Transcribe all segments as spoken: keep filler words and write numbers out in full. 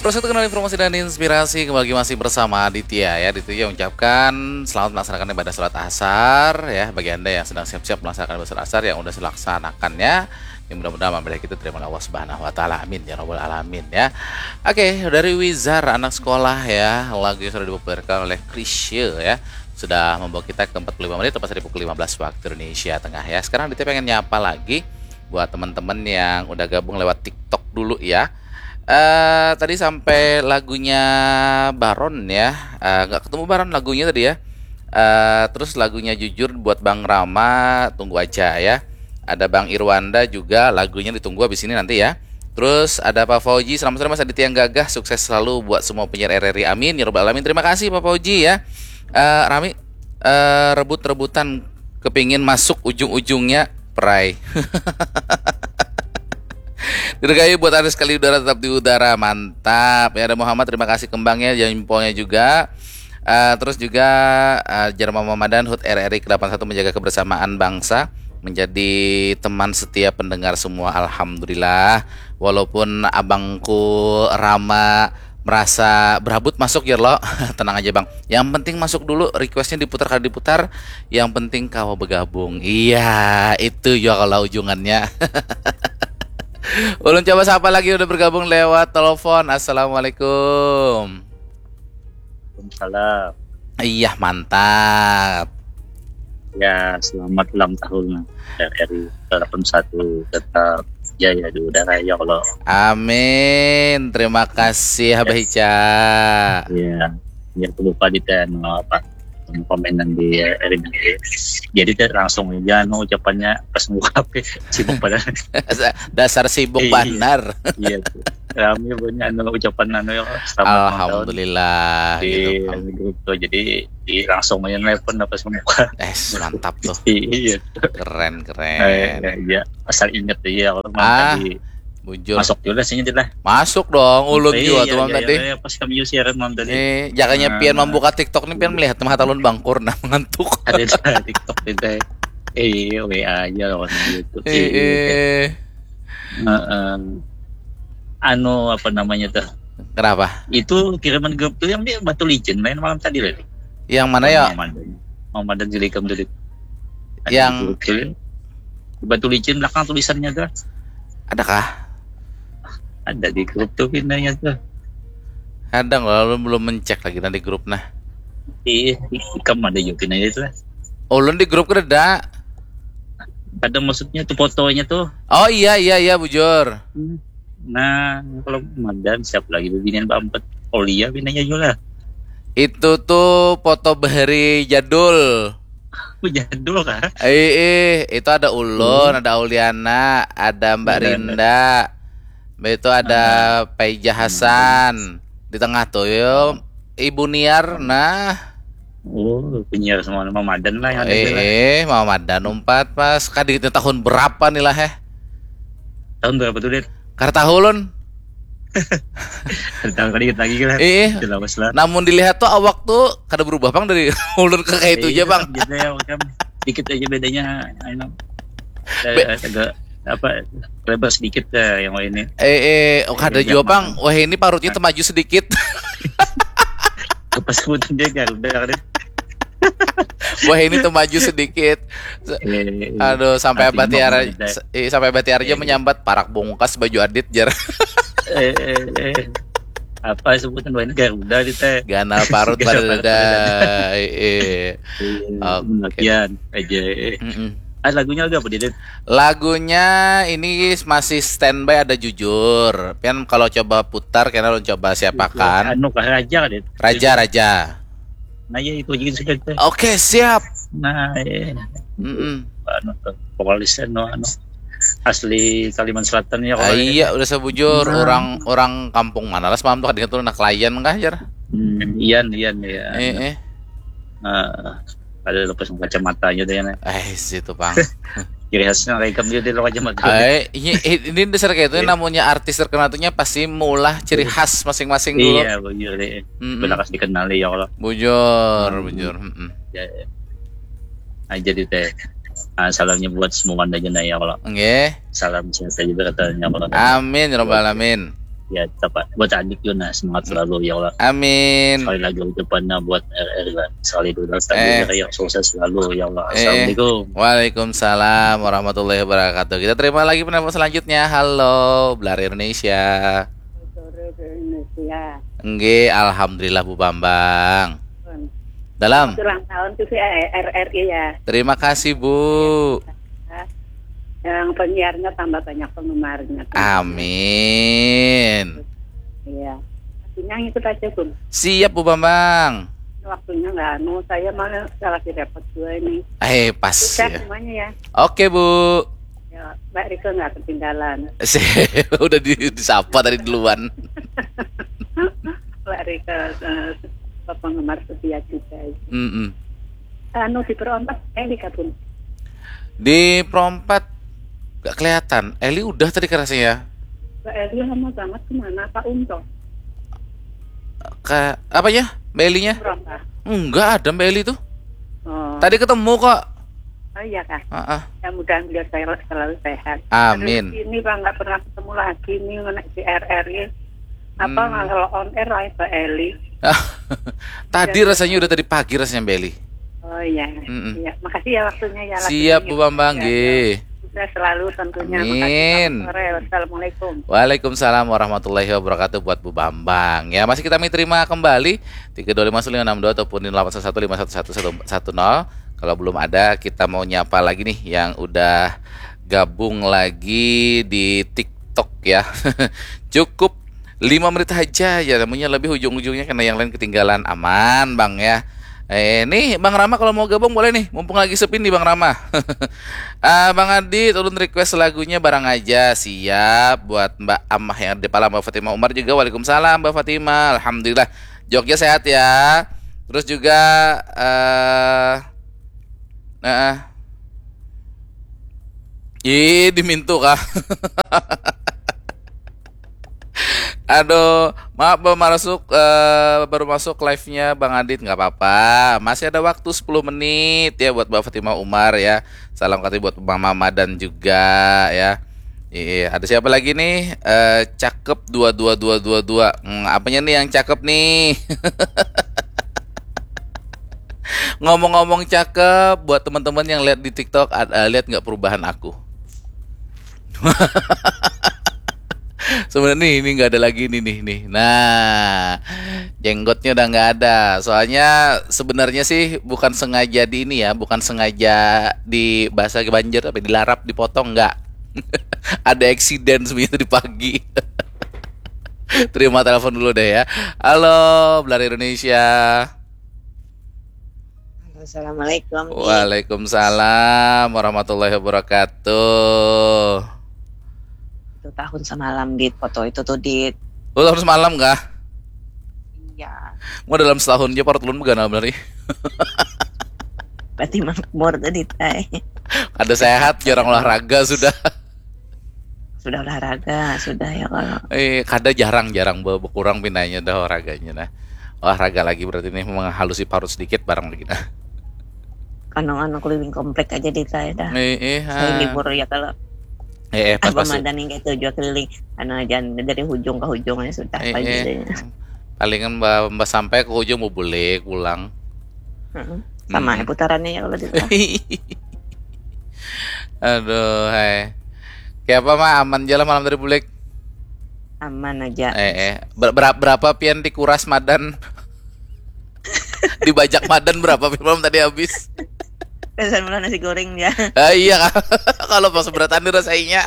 Terus itu kenal informasi dan inspirasi kembali masih bersama Aditya ya. Aditya ucapkan selamat melaksanakan ibadah sholat asar ya. Bagi anda yang sedang siap-siap melaksanakan ibadah sholat asar yang udah dilaksanakannya, yang mudah-mudahan ibadah kita terima oleh Allah Subhanahu Wa Taala. Amin ya robbal alamin ya. Oke, dari Wizar anak sekolah ya, lagu yang sudah dipopulerkan oleh Chrisye ya, sudah membawa kita ke empat puluh lima menit tepat dari pukul lima belas waktu Indonesia Tengah ya. Sekarang Aditya pengen nyapa lagi buat teman-teman yang udah gabung lewat TikTok dulu ya. Eh tadi sampai lagunya Baron ya. Eh, nggak ketemu Baron lagunya tadi ya. Eh terus lagunya Jujur buat Bang Rama, tunggu aja ya. Ada Bang Irwanda juga, lagunya ditunggu habis ini nanti ya. Terus ada Pak Fauji, selamat sore Mas Aditya yang gagah, sukses selalu buat semua penyiar R R I. Amin ya robbal alamin. Terima kasih Pak Fauji ya. Eh Rami, eh rebut-rebutan kepingin masuk ujung-ujungnya perai. Dirgayu buat Aris kali udara tetap di udara, mantap ya. Ada Muhammad, terima kasih kembangnya, jempolnya juga. Eh, terus juga eh, Jerman Mamadan, Hut R R I ke delapan satu, menjaga kebersamaan bangsa, menjadi teman setia pendengar semua, alhamdulillah. Walaupun abangku Rama merasa berabut masuk ya lo, tenang aja bang. Yang penting masuk dulu, requestnya diputar kali diputar. Yang penting kawa bergabung. Iya, itu ya kalau ujungannya. Ulun coba sapa lagi udah bergabung lewat telepon. Assalamualaikum. Waalaikumsalam. Iya, mantap. Ya, selamat ulang tahun R R I delapan satu, tetap jaya di udara ya Allah. Amin. Terima kasih Abah Ica. Iya. Ya, aku lupa di ten apa komenan di R R I. Jadi teh langsung aja anu ucapannya pas buka H P, sibuk pada Dasar sibuk Iya. Banar. Iya tuh. Rame banyak anu ucapan anu ya, selamat ulang tahun Alhamdulillah di gitu. Bang. Grup tuh. Jadi di, langsung aja nelpon apa semua. Eh, mantap tuh. Iya. Keren, Eh, keren. ya, asal inget aja kalau Ah, tadi Bujur. Masuk juga sih lah. Masuk dong, ulun Iya, juga iya, tuh Bang iya, tadi. Iya, pas kami siaran Bang tadi. Eh, jakanya Ah. Pian membuka TikTok nih, Pian melihat mah talun bangkur nah mengantuk. Ada di TikTok itu. Eh, iya, W A aja lawan gitu. Eh, eh. Heeh. Anu, apa namanya tuh? Kenapa? Itu kiriman grup tuh yang di Batu Licin main malam tadi loh. Yang mana ya? Mamadan. Mamadan Zilikam tadi. Ada Yang di grup tuh. Di Batu Licin belakang tulisannya tuh. Adakah? Ada di grup tuh pindahnya tuh. Kadang lalu belum mencek lagi nanti grup nah. Iya, ikam ada juga pindahnya itu lah. Ulun di grup kada ada. Ada maksudnya tuh fotonya tuh. Oh iya iya iya bujur. Nah, kalau Madan siapa lagi bibinian Mbak Empat? Aulia pindahnya juga lah. Itu tuh foto bahari jadul. Aku jadul kah? Eh, eh, itu ada ulun, ada Auliana, ada Mbak Ada, ada. Rinda. Mbak itu ada Paija Hasan. Di tengah tuh yo Ibu Niar nah. Oh, penyiar semua nama Madan lah yang ada Eh, juga lah. Eh, Mama Madan umpat pas kaditnya tahun berapa nih lah eh? Tahun berapa tuh, Dit? Kada tahu ulun. Tahun kali lagi lah. Eh, Jelas lah. Namun dilihat tuh awak tuh kada berubah bang dari ulun ke kayak itu aja bang. Gitu ya, kan. Dikit aja bedanya. Anu. Be- Eh, agak apa, lebar sedikit ya yang ini. Eh, eh, oh, kada Iya, jua Bang. Bang. Wah ini parutnya temaju sedikit. Pas sebutan dia Garuda kan. Wah ini temaju sedikit. Eh, Aduh sampai Artinya Abah Tiara, mau ngomong eh, sampai Abah Tiara aja Iya. Menyambat parak bungkas baju adit jar. eh, eh, eh. Apa sebutan, wah ini Garuda di teh. Ganal parut Ganal pada parut dada. pada Eh, eh. Iya, Oke. Latihan aja. Eh. Mm-mm. Ah, lagunya lagu apa, Dit? Lagunya ini masih standby ada jujur. Pian kalau coba putar kena lo coba siapakan. Anu kah, Raja, Dit? Raja Raja. Nah, ya itu aja sudah, Dit. Oke siap. Nah, eh. Mm-mm. Anu tuh, vokalisnya no, anu. Asli Kalimantan Selatan ya Ah, kalau iya udah sebujur Nah. orang orang kampung mana lah semalam tuh kadang tuh anak layan kah jar. Hmm, Ian, Ian ya. Eh eh. Nah, ada lepas kacamatanya deh, nah. Eh situ bang. Ciri khasnya kayak ikam dia, dia lo kacamata. Eh ini ini dasar kayak itu Iya. Namanya artis terkenal tuhnya pasti maulah ciri khas masing-masing dulu. Iya, bujur deh. Mm-mm. Belakas dikenali ya kalau. Bujur, Hmm. bujur. Mm-mm. Ya, ya. Nah, jadi teh, ah, salamnya buat semua aja nah ya kalau. Nggih. Salam sehat aja katanya kalau. Amin ya robbal alamin. Ya, tetap buat Adik juga, nah, semangat selalu, ya Allah. Amin. Sekali lagi ucapannya buat R R lah. Sekali dulu, sekali Eh. lagi, ya, sukses selalu, ya Allah. Eh. Assalamualaikum. Waalaikumsalam warahmatullahi wabarakatuh. Kita terima lagi penelpon selanjutnya. Halo, Belar Indonesia. Sore di Indonesia. Nggih, alhamdulillah Bu Bambang. Dalam. Ulang tahun tuh si R R I ya. Terima kasih, Bu. Yang penyiarnya tambah banyak penggemarnya. Amin. Iya. Artinya ngikut aja, Bun. Siap, Bu Bambang. Waktunya nggak anu, saya malah salah dapat dua ini. Eh, pas Sukses ya. Semuanya ya. Oke, Bu. Ya, Mbak Rika nggak ketinggalan. Udah di, disapa tadi duluan. Mbak Rika, eh, penggemar setia juga. Mm-mm. Anu, di Perompak, eh, di Kabun. Di Perompak gak kelihatan. Eli udah tadi kerasnya ya. Mbak Eli lama banget kemana? Pak Unto. Ke apa ya? Mbak Elinya? Perompak. Enggak ada Mbak Eli tuh. Oh. Tadi ketemu kok. Oh iya kah? Heeh. Ya, mudah-mudahan beliau sel- selalu sehat. Amin. Terus ini Pak nggak pernah ketemu lagi nih, ngenek di R R I. Apa Hmm. nggak, kalau on air lah Mbak Eli? Tadi rasanya udah tadi pagi rasanya Mbak Eli. Oh iya. Mm-mm. Iya, makasih ya waktunya ya. Siap, Bu Bambang, Ya, nggih. Sukses selalu tentunya. Amin. Makasih, selamat sore. Wassalamualaikum. Waalaikumsalam warahmatullahi wabarakatuh buat Bu Bambang. Ya, masih kami terima kembali tiga dua lima sembilan enam dua ataupun di delapan satu satu lima satu satu satu nol. Kalau belum ada, kita mau nyapa lagi nih yang udah gabung lagi di TikTok ya. Cukup lima menit aja ya, namanya lebih ujung-ujungnya kena yang lain ketinggalan. Aman, Bang, ya. Eh, nih Bang Rama kalau mau gabung boleh nih, mumpung lagi sepi nih Bang Rama. Ah, Bang Adi, ulun request lagunya Barang Aja. Siap, buat Mbak Amah yang ada di Palang, Mbak Fatimah Umar juga. Waalaikumsalam Mbak Fatimah. Alhamdulillah. Jogja sehat ya. Terus juga eh eh Ih, dimintu kah? Aduh, maaf, baru masuk, eh, baru masuk live-nya Bang Adit, nggak apa-apa. Masih ada waktu sepuluh menit ya buat Mbak Fatimah Umar ya. Salam kata buat Mama Madan juga ya. Iya, ada siapa lagi nih? Eh, cakep dua dua dua dua dua. Hmm, apanya nih yang cakep nih? Ngomong-ngomong cakep, buat teman-teman yang lihat di TikTok, ad- eh, lihat nggak perubahan aku? Sebenarnya ini nggak ada lagi nih nih nih. Nah, jenggotnya udah nggak ada. Soalnya sebenarnya sih bukan sengaja di ini ya, bukan sengaja di bahasa Banjar apa dilarap dipotong, nggak. Ada eksiden sebenarnya tadi pagi. Terima telepon dulu deh ya. Halo, Belar Indonesia. Assalamualaikum. Di Waalaikumsalam warahmatullahi wabarakatuh. Itu tahun semalam di foto itu tuh di Lu tahun semalam kah? Iya. Mau dalam setahun aja parut ulun beganal bener nih. Berarti makmur tadi teh. Ada sehat, jarang olahraga sudah. Sudah olahraga, sudah ya kalau. Eh, kada jarang-jarang be- berkurang pinanya dah olahraganya nah. Olahraga lagi berarti nih menghalusi parut sedikit barang lagi nah. Anu-anu keliling komplek aja di teh dah. Eh, eh, Saya ha. Libur ya kalau Eh, eh, pas apa pas. Mandan yang kayak itu juga keliling. Anu aja dari hujung ke hujung aja sudah Eh, pagi eh. deh. Palingan mbak, mbak sampai ke ujung mau balik pulang. Heeh. Sama Hmm. ya putarannya ya kalau di teh. Aduh, hai. Kayak apa mah aman aja lah malam tadi bulik. Aman aja. Eh, eh. Ber- berapa berapa pian dikuras Madan? Dibajak Madan berapa pian malam tadi habis? Pesan malah nasi goreng ya. Ah, iya kan? Kalau pas berat anu rasanya.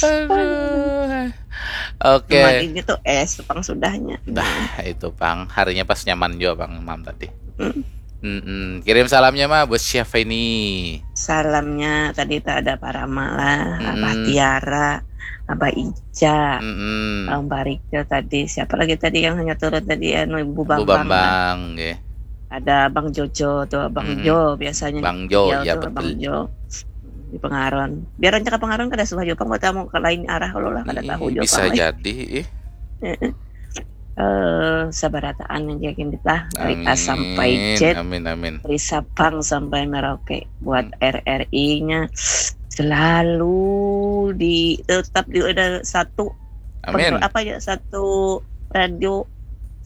Aduh. Oke. Cuma ini tuh es pang sudahnya. Dah, itu pang. Harinya pas nyaman juga pang malam tadi. Hmm. Mm-mm. Kirim salamnya mah buat siapa ini? Salamnya tadi tak ada Pak Rama lah, Abah Mm-mm. Tiara, Abah Ica, Mm-mm. Bang Barika tadi. Siapa lagi tadi yang hanya turun tadi anu Ibu Bu Bambang. Bambang, nggih. Ada Bang Jojo tuh, Bang Mm-mm. Jo biasanya. Bang Jo, Iya ya tuh, Bang betul. Jo. Di Pengaron. Biar aja ke Pengaron kada suah juga pang buat tamu ke lain arah kalau lah kada Ih, tahu juga bisa pang, eh. Jadi, ih. Eh, sabarataan aja gini lah dari A sampai Amin, Z, amin, amin. dari Sabang sampai Merauke buat Hmm. R R I-nya selalu di tetap di ada satu Amin. apa ya, satu radio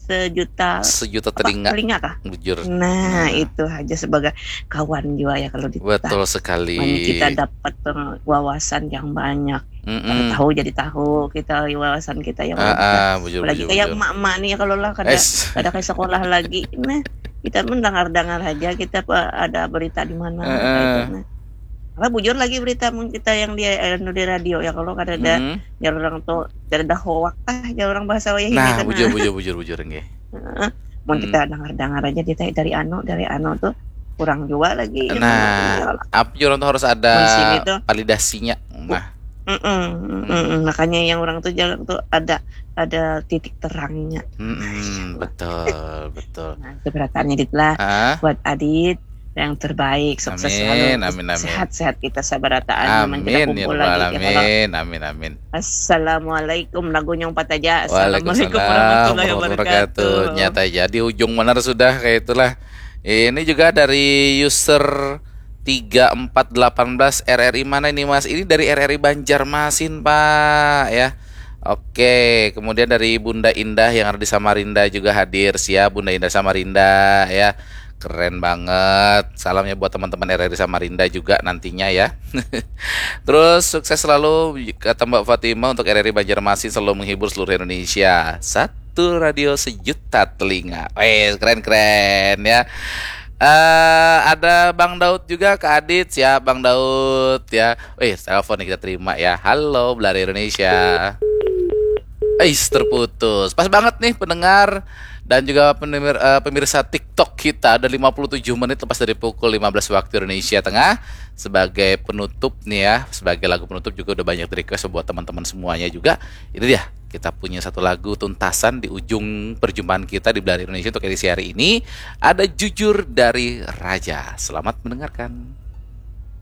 sejuta Sejuta apa, telinga. Telinga kah? Bujur. Nah, Nah. Itu aja sebagai kawan juga ya kalau di Betul sekali. Kita dapat peng- wawasan yang banyak. Kalau Mm-mm. Tahu jadi tahu kita, wawasan kita yang Ah, banyak. ah, bujur, Apalagi bujur, kayak bujur. emak-emak nih, kalau lah kada Es. kada kayak sekolah lagi. Nah, kita pun dengar-dengar aja kita apa ada berita di mana Heeh. gitu. Nah. Apa bujur lagi berita mun kita yang di anu di radio ya, kalau kada ada Mm-mm. ya orang tuh kada ada hoak ah ya orang bahasa wayah Nah, gitu. bujur, bujur, bujur, bujur, nggih. Heeh. Mun Hmm. Kita dengar-dengar aja kita dari anu dari anu tuh kurang juga lagi. Nah, apa juga orang tuh harus ada Mun sini tuh. Validasinya. Nah, Mm-mm, mm-mm. Makanya yang orang tuh jalan tuh ada ada titik terangnya. mm-mm, betul, betul. Nah, itu berataannya Dit lah. Ah, Buat Adit yang terbaik, sukses Amin, selalu, amin, amin. Sehat-sehat kita sabarataan. Aman kita Amin ya kumpul rabbal lagi. Ya, kalau alamin. Amin, amin. Assalamualaikum, lagunya empat aja. Assalamualaikum Waalaikumsalam warahmatullahi warahmatullahi wabarakatuh. wabarakatuh. Nyata aja di ujung benar sudah kayak itulah. Ini juga dari user tiga empat delapan belas, R R I mana ini, Mas? Ini dari R R I Banjarmasin, Pak, ya. Oke, kemudian dari Bunda Indah yang ada di Samarinda juga hadir. Siap, Bunda Indah Samarinda, ya. Keren banget. Salamnya buat teman-teman R R I Samarinda juga nantinya, ya. Terus sukses selalu kata Mbak Fatimah untuk R R I Banjarmasin, selalu menghibur seluruh Indonesia. Satu radio sejuta telinga. Weh, keren-keren ya. Eh, ada Bang Daud juga, Kak Adit, siap Bang Daud ya. Weh, telepon nih kita terima ya. Halo, Belari Indonesia. Eis, terputus. Pas banget nih pendengar dan juga pendengar, eh, pemirsa TikTok kita, ada lima puluh tujuh menit lepas dari pukul lima belas waktu Indonesia Tengah. Sebagai penutup nih ya, sebagai lagu penutup juga udah banyak di request buat teman-teman semuanya juga. Ini dia, kita punya satu lagu tuntasan di ujung perjumpaan kita di Belari Indonesia untuk edisi hari ini. Ada Jujur dari Raja. Selamat mendengarkan.